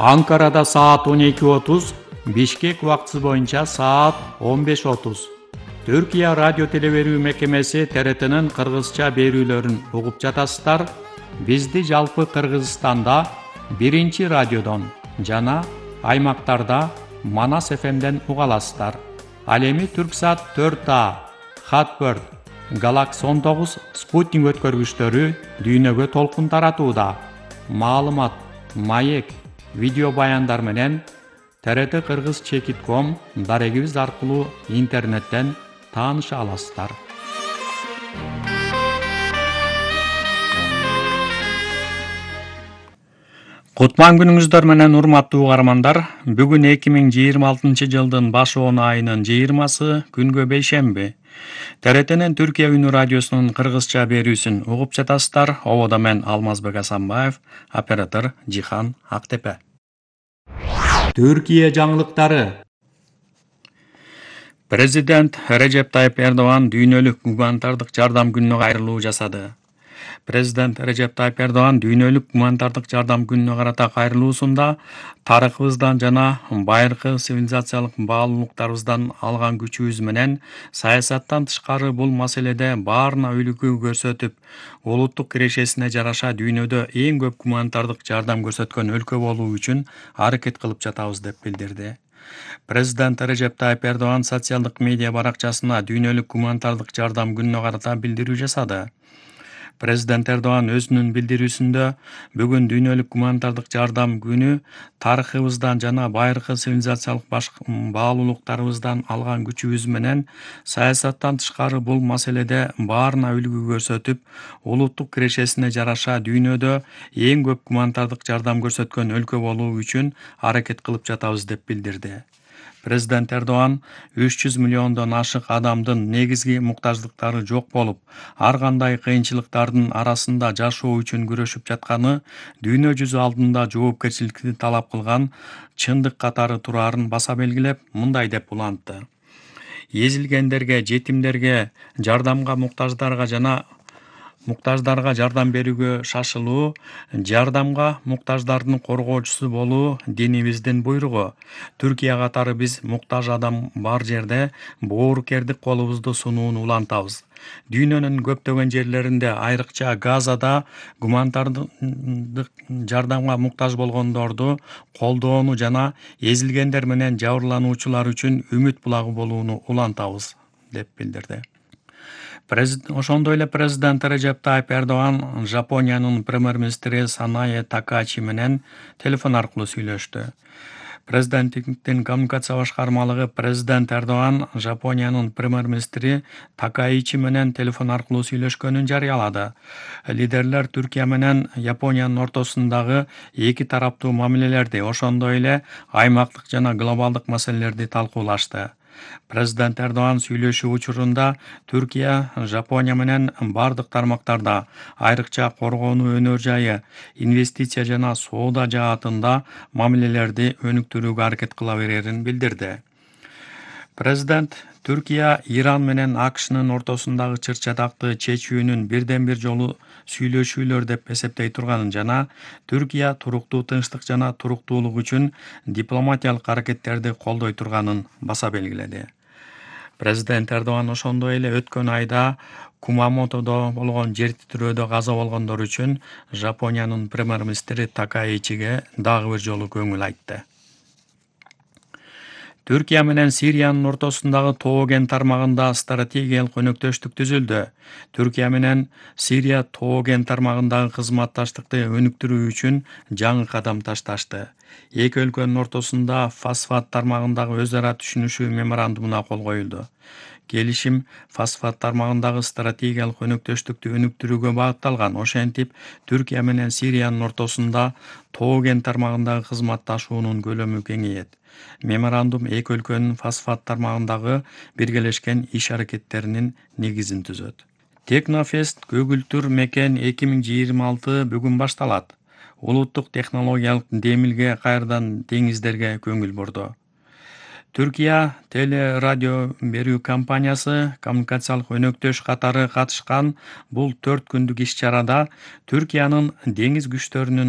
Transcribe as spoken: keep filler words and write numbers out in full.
Анкарада саат он эки отуз, Бишкек убактысы боюнча саат он беш отуз. Түркия радио телеберүү мекемеси Т Р Т'нин кыргызча берүүлөрүн угуп жатасыздар. Бизди жалпы Кыргызстанда биринчи радиодон жана аймактарда Манас Ф M'ден уга аласыздар. Ал эми Түрксат төрт А, Хатберд, Галакс он тогуз спутник өткөргүчтөрү дүйнөгө толкун таратууда. Маалымат, маек, видео баяндар менен Т Р Т Кыргыз чекит ком дарегибиз аркылуу интернеттен тааныша аласыздар. Кутман күнүңүздөр менен урматтуу угармандар. Бүгүн эки миң жыйырма алтынчы жылдын баш он айынын жыйырмасы күнгө бейшемби. Т Р Т'нин Түркия үнү радиосунун кыргызча берүүсүн угуп жатасыздар. Ободо мен Алмазбек Асанбаев, оператор Жихан Актепе. Түркия жаңылыктары. Президент Режеп Тайып Эрдоган дүйнөлүк гуманитардык жардам күнүнө кайрылуу жасады. Президент Режеп Тайып Эрдоган дүйнөлүк гуманитардык жардам күнүнө карата кайрылуусунда тарыхыбыздан жана байыркы цивилизациялык баалуулуктарыбыздан алган күчүбүз менен саясаттан тышкары бул маселеде баарына үлгү көрсөтүп, улуттук кирешесине жараша дүйнөдө эң көп гуманитардык жардам көрсөткөн өлкө болуу үчүн аракет кылып жатабыз деп билдирди. Президент Режеп Тайып Эрдоган социалдык медиа баракчасына дүйнөлүк гуманитардык жардам күнүнө карата билдирүү жасады. Президент Эрдоган өзүнүн билдирүүсүндө бүгүн дүйнөлүк гуманитардык жардам күнү тарыхыбыздан жана байыркы цивилизациялык баалуулуктарыбыздан алган күчүбүз менен саясаттан тышкары бул маселеде баарына үлгү көрсөтүп, улуттук кирешесине жараша дүйнөдө эң көп гуманитардык жардам көрсөткөн өлкө болуу үчүн аракет кылып жатабыз деп билдирди. Президент Эрдоган үч жүз миллиондон ашык адамдын негизги муктаждыктары жок болуп, ар кандай кыйынчылыктардын арасында жашоо үчүн күрөшүп жатканы дүйнө жүзү алдында жоопкерчиликти талап кылган чындык катары турарын баса белгилеп, мындай деп улантты. Эзилгендерге, жетимдерге, жардамга муктаждарга жана муктаждарга жардам берүүгө шашылуу, жардамга муктаждардын коргоочусу болуу динибиздин буйругу. Түркия катары биз муктаж адам бар жерде боорукердик колубузду сунууну улантабыз. Дүйнөнүн көптөгөн жерлеринде, айрыкча Газада гуманитардык жардамга муктаж болгондорду колдоону жана эзилгендер менен жабырлануучулар үчүн үмүт булагы болууну улантабыз, деп билдирди. Ошондой эле президент Режеп Тайып Эрдоган Жапониянын премьер-министри Санае Такачи менен телефон аркылуу сүйлөштү. Президенттиктин коммуникация башкармалыгы президент Эрдоган Жапониянын премьер-министри Такаичи менен телефон аркылуу сүйлөшкөнүн жарыялады. Лидерлер Түркия менен Япониянын ортосундагы эки тараптуу мамилелерди, ошондой эле аймактык жана глобалдык маселелерди талкуулашты. Президент Эрдоган сүйлөшүү учурунда Түркия Жапония менен бардык тармактарда, айрыкча коргонуу өнөр жайы, инвестиция жана соода жаатында мамилелерди өнүктүрүүгө аракет кыла берерин билдирди. Президент Түркия Иран менен А К Шнын ортосундагы чыр-чатакты чечүүнүн бирден бир жолу сүйлөшүүлөр деп эсептей турганын жана Түркия туруктуу тынчтык жана туруктуулук үчүн дипломатиялык аракеттерди колдой турганын баса белгиледи. Президент Эрдоган ошондой эле өткөн айда Кумамотодо болгон жер титирөөдө каза болгондор үчүн Жапониянын премьер-министри Такаичиге дагы бир жолу көңүл айтты. Түркия менен Сириянын ортосундагы Тоо-Ген тармагында стратегиялык өнөктөштүк түзүлдү. Түркия менен Сирия Тоо-Ген тармагындагы кызматташтыкты өнүктүрүү үчүн жаңы кадам ташташты. Эки өлкөнүн ортосунда фосфат тармагындагы өз ара түшүнүшүү меморандумуна кол коюлду. Келишим фосфат тармагындагы стратегиялык өнөктөштүктү өнүктүрүүгө багытталган. Ошентип, Түркия менен Сириянын ортосунда Тоо-Ген тармагындагы кызматташуунун көлөмү кеңейет. Меморандум эки өлкөнүн фосфат тармагындагы биргелешкен иш-аракеттеринин негизин түзөт. Технофест көгүлтүр мекен эки миң жыйырма алты бүгүн башталат. Улуттук технологиялык демилге кайрадан деңиздерге көңүл бурду. Түркия теле радио берүү компаниясы коммуникациялык өнөктөш катары катышкан бул төрт күндүк иш-чарада Түркиянын деңиз күчтөрүнүн